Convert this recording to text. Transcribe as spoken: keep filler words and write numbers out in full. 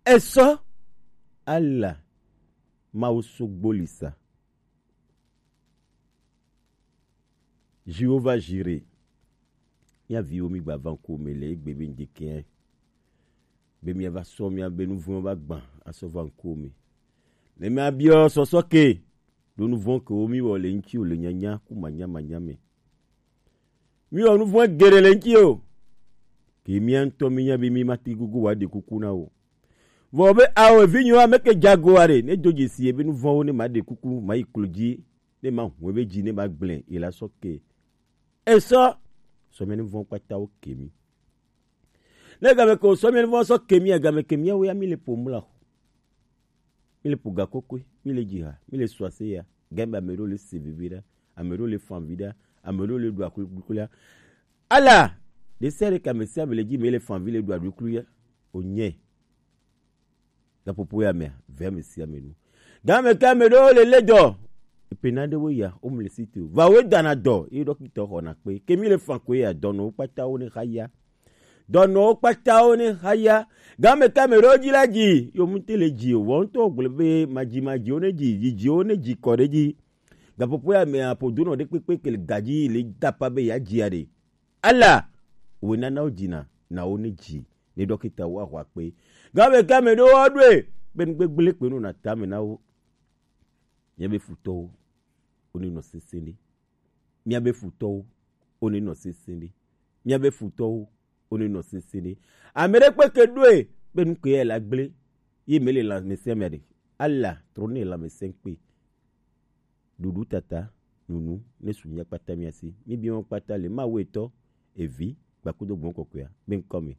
Esɔ ala Mawu sogbolisa. Jehova Jire, mía viwo mi gba va ŋkuwò me le egbe be ŋdekɛ be mía va sɔ mía be nuvɔ̃ va gbã asɔ va ŋkuwò me. Ne mía biɔ sɔsɔ ke ɖo nuvɔ̃ kewo mi wɔ le ŋutiwò le nyanya ku manya manya me. Mi wɔ nuvɔ̃ geɖe le ŋutiwò. Ke mía ŋutɔ mi nya be mi ma te gogo wa ɖe kuku na wo. Vɔ be ao evinyewo ame ke jago aɖe ne do dzesi ebe nuvɔ̃wo ne ma ɖe kuku ma yi klo dzi ne ma hu ebe dzi ne ma gblẽ yi la sɔ ke. Esɔ sɔ mía nuvɔ̃ kpata wo ke mi. Ne game ke sɔ mía nuvɔ̃ sɔ ke mi, game ke mía wo ya mi le po mla. Mi le po ga kokoi, mi le dzi ha, mi le sɔ ase ya. Game ame ɖewo le se vivi ɖa, ame ɖewo le fan vi ɖa, ame ɖewo le ɖu akuklu ya. Ala ɖe sia ɖe ke ame sia ame le dzi me le fan vi le ɖu akuklu ya. O nye gaƒoƒo ya mea, ve ame sia ame nu. Game ke ame ɖewo le le dɔ. Epe na ɖewo ya, wo mu le si te o. Va wo dana dɔ, ye ɖɔkita xɔna kpe. Ke mi le fan ko ya, dɔnɔwo kpata wo ne xa ya. Dɔnɔwo kpata wo ne xa ya. Game ke ame ɖewo dzi la dzi, yo mu te le dzi o. Vɔ ŋutɔ gblɔ be madzi madzi wo ne dzi, dzi dzi wo ne dzi kɔ ɖe dzi. Gaƒoƒo ya mea, ƒo donɔ ɖe kpekpe ke le gadzi le dapa be ya dzia ɖe. Ala, wòe nana wo dzina na wo ne dzi ne ɖɔkita wo axɔ akpe. Game ke ame ɖewo aɖoe be nu gbegblẽ kpe nɔna tame na wo. Míabe futɔwo, wonenɔ sesẽ ɖe. Míabe futɔwo, wonenɔ sesẽ ɖe. Míabe futɔwo, wonenɔ sesẽ ɖe. Ame ɖe kpe ke ɖoe be nu ke ya la gblẽ ye mele lãmesẽ mea ɖe. Ala trɔ ne lãmesẽ kpe. Ɖuɖu tata, nunu ne su mía kpata mía si. Mi bi wọn kpata le Mawu etɔ, evi, gbakudo gbɔn kɔkɔea be ŋkɔ me.